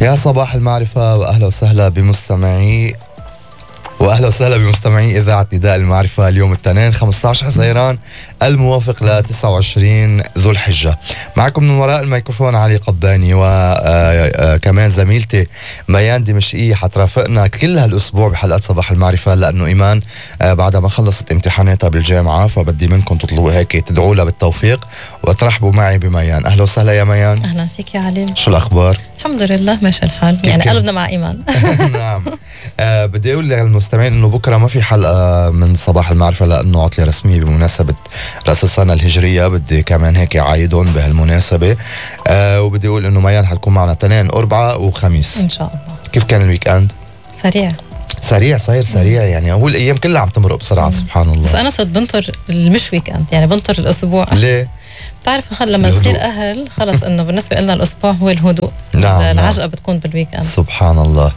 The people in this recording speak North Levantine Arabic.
يا صباح المعرفة وأهلا وسهلا بمستمعي إذاعة نداء المعرفة. اليوم الاثنين 15 حزيران الموافق ل 29 ذو الحجة. معكم من وراء الميكروفون علي قباني، وكمان زميلتي ميان دمشقية حترافقنا كل هالأسبوع بحلقات صباح المعرفة، لأنه إيمان بعد ما خلصت امتحاناتها بالجامعة، فبدي منكم تطلبوا هيك تدعوا لها بالتوفيق وترحبوا معي بميان. أهلا وسهلا يا ميان. أهلا فيك يا علي. شو الأخبار؟ الحمد لله ماشي الحال، يعني قلبنا مع إيمان. نعم. بدي أقول للمستمعين إنه بكرة ما في حلقة من صباح المعرفة لأنه عطلة رسمية بمناسبة رأس السنة الهجرية. بدي كمان هيك عايدون بهالمناسبة. وبدي أقول إنه ميان حتكون معنا اثنين أربعة وخميس إن شاء الله. كيف كان الويك أند؟ سريع صاير سريع، يعني هو الأيام كلها عم تمرق بسرعة. سبحان الله. بس أنا صرت بنطر المش ويك أند، يعني بنطر الأسبوع. ليه؟ بتعرف لما تصير أهل خلص إنه بالنسبة لنا الأسبوع هو الهدوء. نعم. العجقة بتكون بالويك أند. سبحان الله.